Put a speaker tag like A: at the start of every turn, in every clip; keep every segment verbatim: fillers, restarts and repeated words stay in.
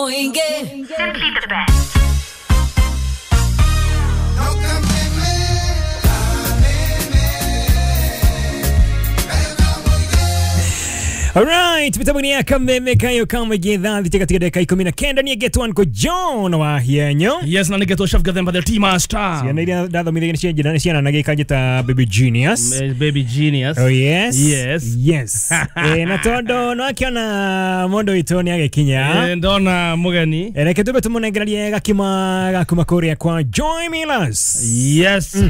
A: Simply the best.
B: Alright, mitambo ya kameme kayo kama gedha katika dakika ikumi na kenda ni get one ko John wa hienyo.
C: Yes, na nigetwo Chef Gathemba the Tea Master.
B: Ciana iria ndathomithia nĩ cianjĩra nĩ ciana na gĩkanjĩta Baby Genius.
C: Baby Genius.
B: Oh yes.
C: Yes.
B: Yes. Eh, na tondo no akiona mundu witũ nĩ agĩkinya.
C: Eh, ndona mugeni.
B: Eh, reke tumbe tũmũnengererie gakima gakuma kũrĩa kwa Joy Millers.
C: Yes.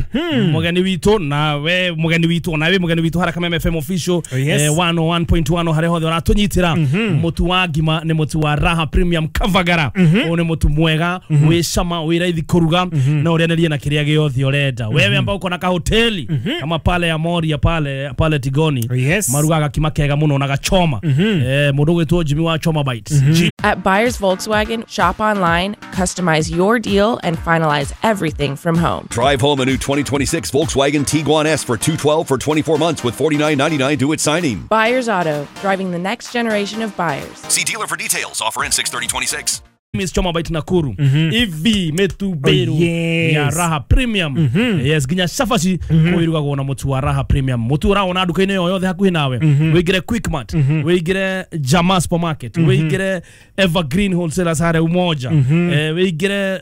C: Mugeni witũ na we mugeni witũ na we mugeni witũ hara Kameme F M official.
B: Oh, yes.
C: Eh, one oh one point one hare hothe ũratũnyitĩra. Mũtu wa ngima nĩ mũtu wa Raha Premium Kavagara. Ũyũ nĩ mũtu mwega wĩ cama wĩ raithi kũruga na ũrĩanĩrie na kĩrĩa gĩothe ũrenda. Wewe ambao uko na kahoteli kama pale ya Moria pale pale Tigoni.
B: Oh, yes.
C: Marugaga kima kega mũno na gachoma. Eh, mũndũ gwĩtwo Jimmy wa Choma Bites.
D: At Buyers Volkswagen, shop online, customize your deal, and finalize everything from home.
E: Drive home a new twenty twenty-six Volkswagen Tiguan S for two twelve for twenty-four months with forty-nine ninety-nine due at signing.
D: Buyers Auto, driving the next generation of buyers.
E: See dealer for details. Offer ends six thirty twenty-six.
C: Miss Choma Bite Nakuru. Ivi metu beru.
B: Oh, yes.
C: Ya Raha Premium. Yes, ginya cabaci kwirugagwo na mutu wa Raha Premium. Mutu ũraona nduka-inĩ o yothe hakuhĩ nawe. Wĩingĩre Quickmart, wĩingĩre Jama Supermarket, wĩingĩre Evergreen Wholesalers harĩa Umoja, eh, wĩingĩre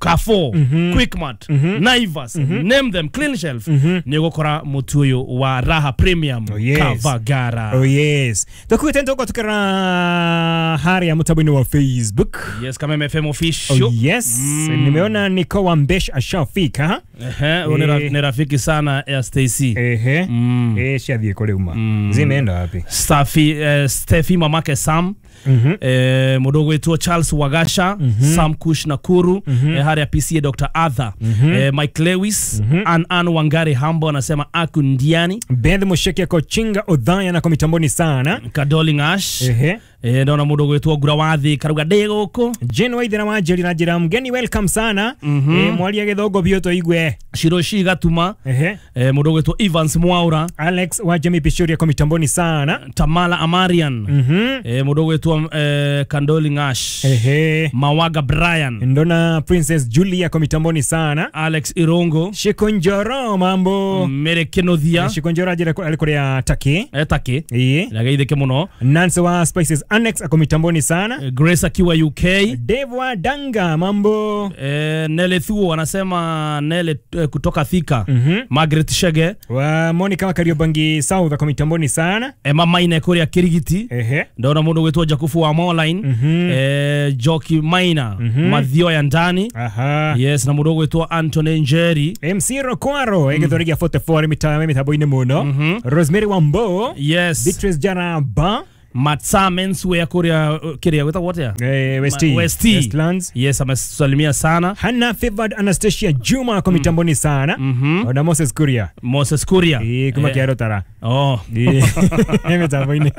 C: Carrefour, Quickmart, Naivas, name them, Clean Shelf. Nĩ ũgũkora mutu ũyũ wa Raha Premium.
B: Oh, yes.
C: Kavagara.
B: Oh yes. Tũkuĩte ntũko tukĩra harĩa mũtambo-inĩ wa Facebook.
C: Yes, Kameme F M official.
B: Oh yes. Mm. Nimeona Niko Wambesh ashafika.
C: Ehe, huyo ni rafiki sana ya Stacy.
B: Ehe.
C: Mm.
B: Eh, shathie kule uma.
C: Mm.
B: Zimeenda wapi?
C: Stafi eh, Steffi mamake Sam.
B: Mhm.
C: Eh, mudogo wetu Charles Wagasha,
B: Mm-hmm.
C: Sam Kush Nakuru,
B: Mm-hmm.
C: eh, Haria P C A Doctor Arthur,
B: Mm-hmm.
C: eh, Mike Lewis,
B: Mm-hmm.
C: Ann Ann Wangari Hambo anasema aku ndiani.
B: Beth Musheke Kochinga Odhaya na kwa mitamboni sana.
C: Kadoli Ngash.
B: Ehe.
C: Eh, ndona mudogo wetu Ngura Wathi Karuga ndĩ gũkũ.
B: Jane Waithera wa Njeri na njĩra mgeni welcome sana.
C: Mm-hmm.
B: Eh, mwaria gĩthũngũ biũ tũigue.
C: Shiroshi Gatuma.
B: Ehe.
C: Eh, mudogo wetu Evans Mwaura.
B: Alex wa Jamie Pishoria kwa mitamboni sana.
C: Tamala Amarian.
B: Mhm.
C: Eh, mudogo wetu eh, Kandoli Ngash.
B: Ehe.
C: Mawaga Brian.
B: Ndona Princess Julia kwa mitamboni sana.
C: Alex Irongo.
B: Shikonjoro mambo.
C: Mere Kenothia.
B: Shikonjoro ajira ali kuria Taki.
C: Eh, Taki.
B: Iye.
C: Nagaithike muno.
B: Nancy wa Spices Annex ako mitamboni sana.
C: Grace akiwa U K.
B: Dave wa Danga mambo.
C: Eh, Nele Thuo anasema Nele eh, kutoka Thika.
B: Mm-hmm.
C: Margaret Shege.
B: Wa Monica wa Kariobangi South ako mitamboni sana.
C: Emma Maine kuria Kirigiti.
B: Ehe.
C: Ndona mundu gwitwo Jakufu wa Moline.
B: Mm-hmm.
C: Eh, Joki Maina.
B: Mm-hmm.
C: Mathio ya ndani.
B: Aha.
C: Yes, na mundu gwitwo Anthony Njeri.
B: M C Rokwaro egethorigia forty-four mita mitambo-inĩ muno.
C: Mm-hmm.
B: Rosemary Wambo.
C: Yes.
B: Beatrice Jaraba.
C: Matsa Menswear kuria kiria gwitagwo atia?
B: Eh, West
C: West
B: Westlands.
C: Yes, amesalimia sana.
B: Hannah Favored Anastasia Juma kwa mitamboni sana.
C: Mm-hmm.
B: Na Moses Kuria.
C: Moses Kuria.
B: Eh, kuma
C: eh.
B: kiaro tara.
C: Oh.
B: Eh, mitamboni.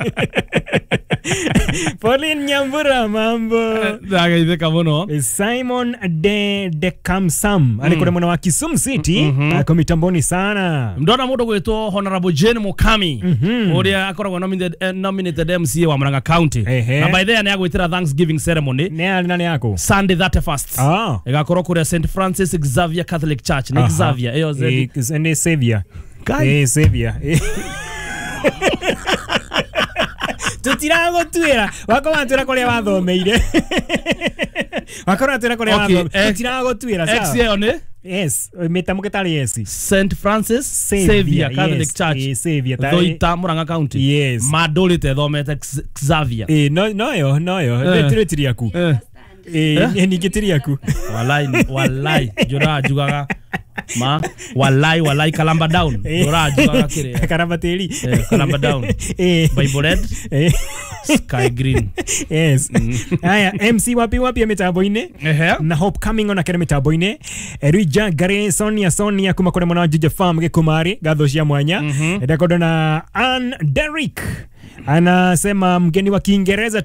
B: Pauline Nyambura mambo.
C: Ndagaithika muno.
B: Simon de de Kamsam mm. Alikore mwana wa Kisumu City
C: mm -hmm.
B: Ako mitamboni sana.
C: Ndona mundu gwitwo Honorable Jane Mukami
B: mm -hmm.
C: uria akoragwo nominated, eh, nominated M C A wa Murang'a County.
B: Ehe.
C: Na by the way ni agwitira Thanksgiving ceremony.
B: Ne ali nani yako?
C: Sunday thirty-first.
B: Ah.
C: Igakorwo kuria Saint Francis Xavier Catholic Church. Ni Xavier. Eyo Z.
B: Ni Xavier.
C: Kai.
B: Eh, Xavier. Tutiragũtuĩra wako watwĩra kũrĩa wathomeire wako watwĩra kũrĩa wathomeire tutiragũtuĩra sawa.
C: X ĩyo nĩ
B: Yes, mĩtamũke tarĩ yes.
C: Saint Francis Xavier Catholic Church.
B: Xavier tarĩ
C: Thoita Murang'a County.
B: Yes.
C: Mandũrĩte thomete Xavier.
B: Eh, no noyo noyo ndĩtire tiri yaku.
C: Eh.
B: Eh, ningĩ tiri yaku.
C: Walai walai njũraga njugaga ma walai walai kalamba down njũraga njugaga kĩrĩa
B: karamba tĩri
C: eh, kalamba down
B: eh,
C: Bible red
B: eh.
C: Sky green.
B: Yes. Haya, M C wapi wapi ya mitambo-inĩ
C: Ehe.
B: na Hope coming on akere mitambo-inĩ Erija Gare Sonia Sonia kuma kũrĩ mwana wa Juja Farm gĩkumari gatho cia mwanya. Ndakondo na Ann Derrick anasema mgeni wa Kiingereza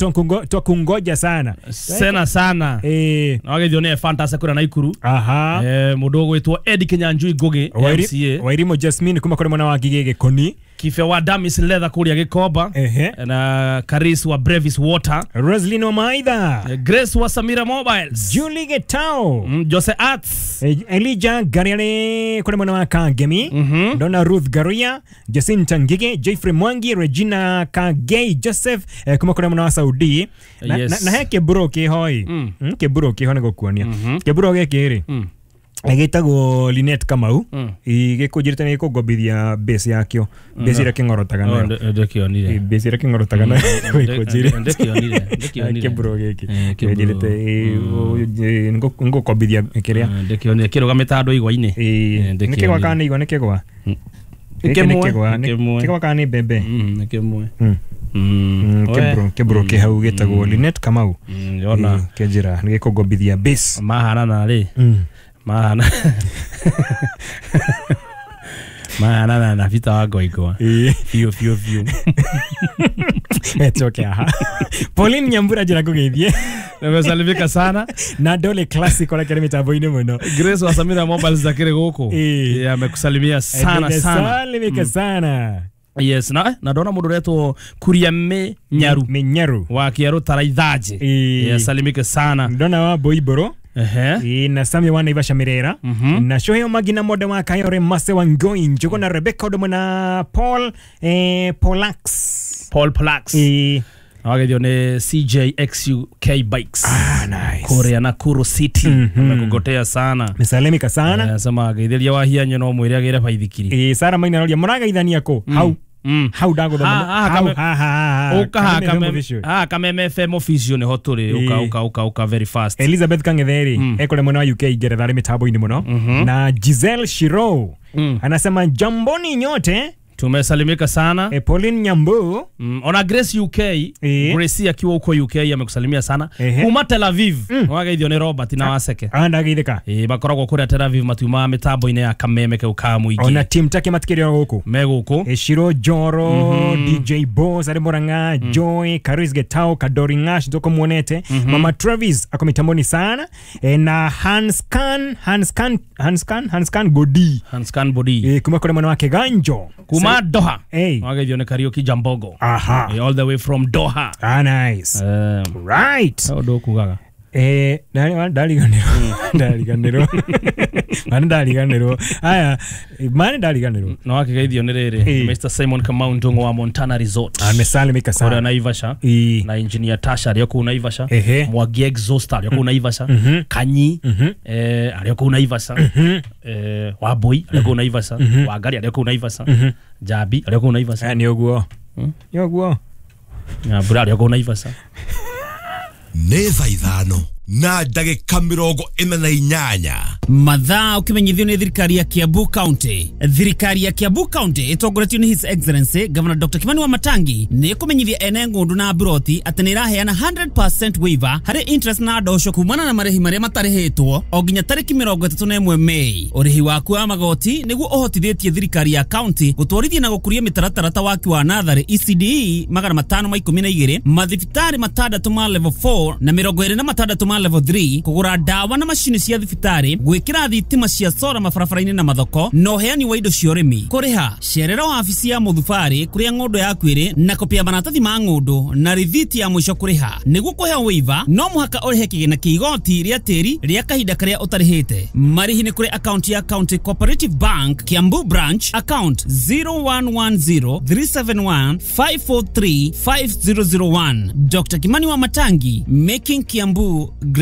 B: twakungoja sana
C: sena sana
B: eh
C: na wagethio nĩ Fantasy kũrĩa Naikuru.
B: Aha.
C: Eh, mũndũ ũgwĩtwo Eddie Kinyanjui Ngugi M C A.
B: Wairimo Jasmine kuma kũrĩ mwana wa Ngigĩ Gĩkoni.
C: Kife wa Damis Leather kuria Gikomba
B: Ehe.
C: na Karis wa Brevis Water,
B: Roslyn wa Maitha,
C: Grace wa Samira Mobiles,
B: Julie Getao,
C: mm, Jose Arts,
B: Eh, Elijah Gariale kule mwana wa Kangemi, Donna Ruth Garia, Jacinta Ngige, Jeffrey Mwangi, Regina Kagei, Joseph eh, kuma kule mwana wa Saudi. Na,
C: Yes.
B: na, na he kiburo kihoi mm. Mm, kiburo kiho nĩ gũkuonia kiburo gĩkĩ rĩ
C: Mm.
B: gĩtagwo Linet Kamau
C: Mm.
B: gĩkũnjĩrĩte nĩ gĩkũngobithia base yakĩo base ĩrĩa kĩng'orotaga
C: Oh,
B: nayo
C: nde- ndekĩonire.
B: Eh, base ĩrĩa kĩng'orotaga nayo gĩkũnjĩrĩte
C: Ndekĩonire, ndekĩonire.
B: kĩburo gĩkĩ
C: Eh, kĩburo.
B: gĩnjĩrĩte ngũkombithia kĩrĩa
C: Eh, ndekĩonire kĩrũgamĩte handũ igwa-inĩ. Eh,
B: nä
C: ndĩkĩonire.
B: kä gwa kana nä igwa nä kä gwa
C: Nĩ
B: Gĩkĩ nĩ
C: kĩmwe,
B: kĩgwa,
C: nĩ
B: nĩ-
C: kĩmwe.
B: kĩgwa kana nä mbembe
C: Mm, nĩ kĩmwe.
B: Mm.
C: Mm.
B: Mm,
C: We.
B: kĩburo kĩburo kä hau gĩtagwo Linet Kamau
C: Mm, yona
B: Ĩ, kĩnjĩra nä gä kå ngombithia base
C: mahanana rĩ
B: Mm.
C: mahana mahanana na Peter wa Ngoingwa
B: Ĩ.
C: biũ biũ biũ.
B: Etoke aha Pauline Nyambura njĩra ngũgeithie
C: Nimesalimika sana.
B: na Dole Classic ona kĩrĩ mĩtambo-inĩ mũno
C: Grace wa Samira Mobiles akĩrĩ gũkũ.
B: Ĩ.
C: Yeah, amekusalimia sana sana.
B: Salimika sana.
C: Yes, na na ndona mũndũ ũretwo Kuria Mĩnyaru
B: Mĩnyaru
C: wa Kĩarũ Taraithanjĩ.
B: Ĩ.
C: Yes, salimike sana.
B: ndona wa Boiboro
C: Ehe.
B: Ĩ, na Sami wa Naivasha Mirera na Shoheo Magina Mode wa Kayore Mase wa Ngoi Njugo na Rebecca Odomo na Paul eh, Polax
C: Paul Plax.
B: Ĩ.
C: Wagethio nĩ C J X U K Bikes.
B: Ah, nice.
C: Kũrĩa Nakuru City. Amekugotea sana.
B: Mesalimika sana.
C: Eh, Anasema ageithĩria wahianyo no mwĩre agĩre baithikiri.
B: Ĩ, Sara Maina aroria mũragaithania kũ hau
C: Mm.
B: hau ndaguthoma
C: Ha- haha
B: hau
C: kame-
B: ha ha ha
C: Ũka haha
B: Kameme
C: Kameme-
B: Official.
C: haha Kameme F M official nĩho tũrĩ. Ũka
B: Ĩ.
C: ũka ũka ũka very fast.
B: Elizabeth Kang'etheri ekore mwena wa U K Ngeretha arĩ mĩtambo-inĩ mũno na Giselle Shiro anasema jamboni nyote.
C: Tumesalimika sana.
B: E, Pauline Nyambu
C: Mm, ona Grace U K,
B: Ĩ.
C: Grace akiwa huko U K amekusalimia sana.
B: Ehe.
C: Kuma Tel Aviv, wageithio nĩ Robert na Waseke.
B: andageithĩka
C: Ĩ, makoragwo kũrĩa Tel Aviv matiumaga mĩtambo-inĩ ya Kameme kau ka mũingĩ.
B: ona team take matikĩrĩ o gũkũ
C: Me gũkũ.
B: E, Shiro Joro D J Boss arĩ Murang'a Joy Karis Getao Kadori Ngash ndoko muonete Mama Travis ako mitamboni sana e, na Hanskan Hanskan Hanskan Hanskan Godi
C: Hanskan Bodi.
B: e, kuma kũrĩ mwena wa Kiganjo
C: Kuma Doha.
B: Ĩ.
C: Wageithio nĩ Kariuki Jambogo.
B: Aha.
C: Ĩ, all the way from Doha.
B: Ah, nice.
C: Eh,
B: Right.
C: ũndũ ũkugaga.
B: Eh, ndari- ndariganĩrwo ndariganĩrwo mani ndariganĩrwo aya mani ndariganĩrwo
C: Na wakĩgeithio nĩ rĩrĩ
B: Ĩ.
C: Mister Simon Kamau Ndung'u wa Montana Resort.
B: amesalimika
C: Kũrĩa
B: sana
C: Naivasha.
B: Ĩ.
C: Na engineer Tasha arĩ o kũu Naivasha.
B: Ehe.
C: Mwangi Exhauster arĩ o kũu Naivasha. Kanyi eh, arĩ o kũu Naivasha. Eh, Wambui arĩ o kũu Naivasha. Wangari arĩ o kũu Naivasha. Njambi arĩ o kũu Naivasha.
B: Eh, nĩ ũguo nĩ ũguo
C: Nyambura arĩ o kũu Naivasha.
A: Nĩ thaa ithano na ndagĩka mĩrongo ĩna na inyanya.
F: Mathaa ũkĩmenyithio nĩ thirikari ya Kiambu County. Thirikari ya Kiambu County ĩtongoretio nĩ His Excellency Governor Doctor Kimani Wamatangi nĩ ĩkũmenyithia ene ng'ũndũ na mburoti atĩ nĩ ĩraheana hundred percent waiver harĩ interest na ndosho kumana na marĩhi marĩa matarĩhĩtwo o nginya tarĩki mĩrongo ĩtatũ na ĩmwe Mei. Ũrĩhi waku wa magoti nĩguo ũhotithĩtie thirikari ya county gũtwarithia na gũkũria mĩtaratara ta waki wa natharĩ E C D E magana matano ma ikũmi na igĩrĩ, mathibitarĩ matandatũ ma level four na mĩrongo ĩrĩ na matandatũ ma level three, kũgũra ndawa na macini cia thibitarĩ, gwĩkĩra thitima cia sora mabarabara-inĩ na mathoko, na ũheani wa indo cia ũrĩmi. Kũrĩha cerera wabici ya mũthubarĩ kũrĩa ng'ũndũ yaku ĩrĩ na kopi ya maratathi ma ng'ũndũ na rithiti ya mũico kũrĩha. Nĩguo kũheo waiver no mũhaka ũrĩhe kĩgĩna kĩa igoti rĩa tĩri rĩa kahinda karĩa ũtarĩhĩte. Marĩhi nĩ kũrĩ akaunti ya County Cooperative Bank Kiambu Branch, account zero one one zero three seven one five four three five zero zero one. Doctor Kimani Wamatangi, making Kiambu great.